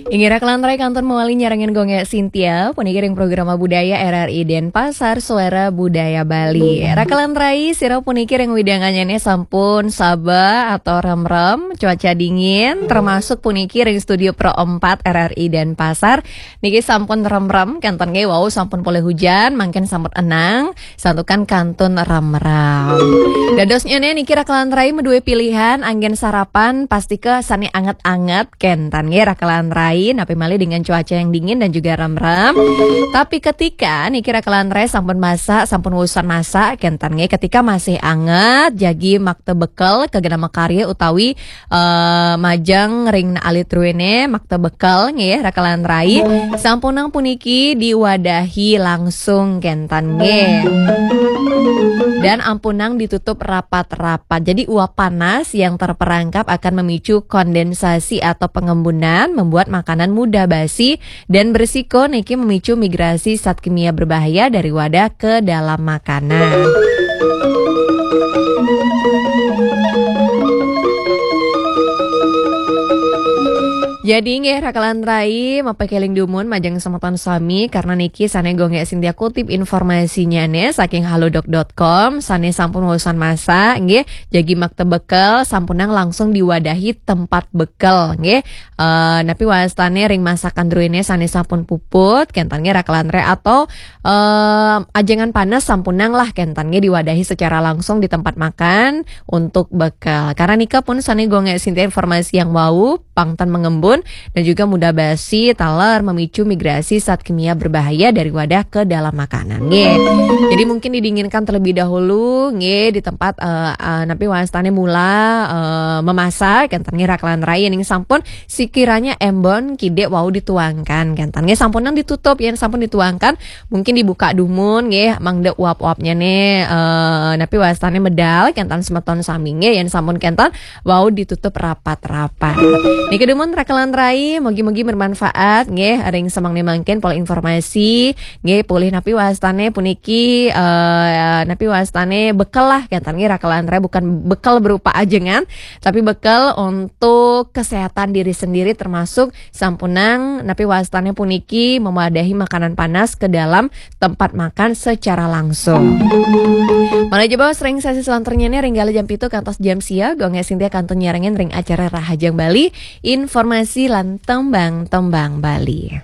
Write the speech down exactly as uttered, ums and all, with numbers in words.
Inggih, Raka lan Rai kantun mawali nyarengin Gung Gé Sintia, puniki ring programa budaya R R I Denpasar, Suara Budaya Bali. Raka lan Rai, sira puniki ring wewidangan nyané sampun saba atau remrem, cuaca dingin, termasuk puniki ring Studio Pro empat R R I Denpasar. Niki sampun remrem, kénten nggih wau sampun polih hujan, mangkin sampun enang, santukan kantun remrem. Dadosnyané niki Raka lan Rai madué pilihan, anggén sarapan, pastika sané anget-anget, kénten nggih Raka lan Rai, napi malih dengan cuaca yang dingin dan juga remrem. Tapi ketika niki Raka lan Rai sampun masak, sampun usan masak, kénten nggih, ketika masih anget, jagi makta bekel, ka genah makarya utawi eh, majeng ring alit druéné, makta bekel nggih, Raka lan Rai. Sampunang puniki diwadahi langsung, kénten nggih. Dan ampunang ditutup rapat-rapat. Jadi uap panas yang terperangkap akan memicu kondensasi atau pengembunan, membuat makanan mudah basi, dan berisiko niki memicu migrasi zat kimia berbahaya dari wadah ke dalam makanan. Jadi nggih, Raka lan Rai, mapakéling dumun majeng semeton sami, karena niki sané Gung Gé Sintia kutip informasinyané saking halodoc dot com, sané sampun usan masak nggih, jagi makta bekel, sampunang langsung diwadahi tempat bekel nggih. Eh, napi wastané ring masakan druéné sané sampun puput, kénten nggih Raka lan Rai, atau eh, ajengan panas sampunang lah, kénten nggih diwadahi secara langsung di tempat makan untuk bekel. Karena nika pun sané Gung Gé Sintia informasi yang wau, pang tan mengembun dan juga mudah basi taler memicu migrasi zat kimia berbahaya dari wadah ke dalam makanan nggih. Jadi mungkin didinginkan terlebih dahulu nggih di tempat eh, eh, napi wastané mula eh, memasak, kénten nggih Raka lan Rai, yén sampun sekiranya embon kidik wau dituangkan, kénten nggih, sampunang ditutup, yén sampun dituangkan mungkin dibuka dumun nggih, mangda uap-uapnyané eh, napi wastané medal, kénten semeton sami nggih, yén sampun kénten wau ditutup rapat-rapat. Niki dumun Raka lan Rai, mugi-mugi bermanfaat nggih, ring semengné mangkin polih informasi nggih, polih napi wastané puniki eh, napi wastané bekel lah, kénten nggih Raka lan Rai, bukan bekel berupa ajengan, tapi bekel untuk kesehatan diri sendiri, termasuk sampunang napi wastané puniki mewadahi makanan panas ke dalam tempat makan secara langsung. Malih jebos ring sesi selanturnyané ring galah jam pitu kantos jam sia, Gung Gé Sintia kantun nyarengin ring acara Rahajeng Bali, informasi lan tembang-tembang Bali.